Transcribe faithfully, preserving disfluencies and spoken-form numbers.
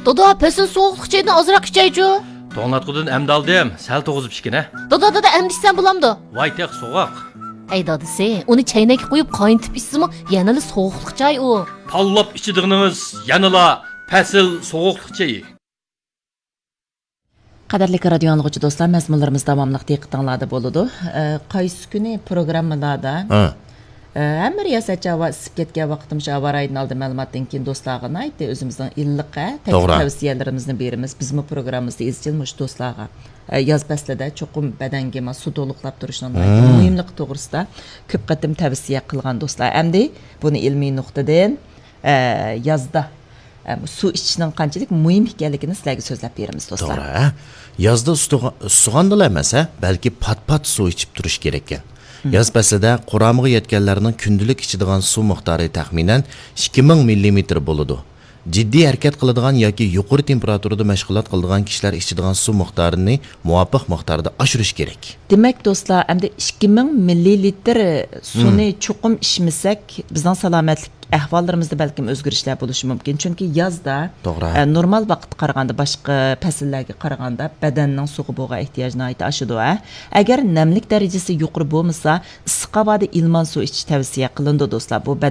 دادا، پەسىل سوغۇقلۇق چايدىن ئازراق ئىچەيچۇ. توڭلاتقۇدىن ئەمدى ئالدىم، سەل توغۇزۇپ ئىچكىنە. دادا، دادا، ئەمدى ئىچسەم بولامدۇ؟ ۋاي تېخى سوغۇق. ئەي دادىسى، ئۇنى چەينەككە قۇيۇپ قاينىتىپ ئىچسىمۇ يەنىلا سوغۇقلۇق چاي ئۇ. تاللاپ ئىچىدىغىنىڭىز يەنىلا پەسىل سوغۇقلۇق چېيى. قەدىرلىك رادىيو ئاڭلىغۇچى دوستلار، مەزمۇنلىرىمىز داۋاملىق دىققىتىڭلاردا بولىدۇ. ئە، قايسى كۈنى پروگراممىلاردا، ھە. ئە، ھەممە رىياسەتچى ھاۋا ئىسسىپ كەتكەن ۋاقتىمىزچە ھاۋا رايىدىن ئالدىن مەلۇماتتىن كېيىن دوستلارغا ناھايىتى ئۆزىمىزنىڭ ئىللىق، ھە، تەكلىپ توغرا. تەۋسىيەلىرىمىزنى بېرىمىز. بىزمۇ پروگراممىمىزدا ئىزچىل مۇشۇ دوستلارغا، ئە، ياز پەسلىدە چوقۇم بەدەنگە ما سۇ تولۇقلاپ تۇرۇشنىڭ ناھايىتى مۇھىملىقى توغرىسىدا كۆپ قېتىم تەۋسىيە قىلغان دوستلار. ئەمدى بۇنى ئىلمىي نۇقتىدىن، ئە، يازدا، ئە، سۇ ئىچىشنىڭ قانچىلىك مۇھىم ئىكەنلىكىنى سىلەرگە سۆزلەپ بېرىمىز، دوستلار. توغرا، ھە؟ يازدا ئۇسسىغا-، ئۇسسىغاندىلا ئەمەس، ھە، بەلكى پات-پات سۇ ئىچىپ تۇرۇش كېرەككەن. مم. ياز پەسلىدە قۇرامىغا يەتكەنلەرنىڭ كۈندىلىك ئىچىدىغان سۇ مىقدارى تەخمىنەن ئىككى مىڭ مىللىمېتىر بولىدۇ. جىددىي ھەرىكەت قىلىدىغان ياكى يۇقىرى تېمپېراتۇرىدا مەشغۇلات قىلىدىغان كىشىلەر ئىچىدىغان سۇ مىقدارىنى مۇۋاپىق مىقداردا ئاشۇرۇش كېرەك. دېمەك، دوستلار، ئەمدى ئىككى مىڭ مىللىلىتىر سۇنى مم. چوقۇم ئىچمىسەك، بىزنىڭ سالامەتلىك ئەھۋاللىرىمىزدا بەلكىم ئۆزگىرىشلەر بولۇشى مۇمكىن. چۈنكى يازدا، توغرا. ئە، نورمال ۋاقىتقا قارىغاندا، باشقا پەسىللەرگە قارىغاندا بەدەننىڭ سۇغا بولغان ئېھتىياجى ناھايىتى ئاشىدۇ، ھە. ئەگەر نەملىك دەرىجىسى يۇقىرى بولمىسا، ئىسسىق ھاۋادا ئىلمان سۇ ئىچىش تەۋسىيە قىلىنىدۇ، دوستلار. بۇ بەدەن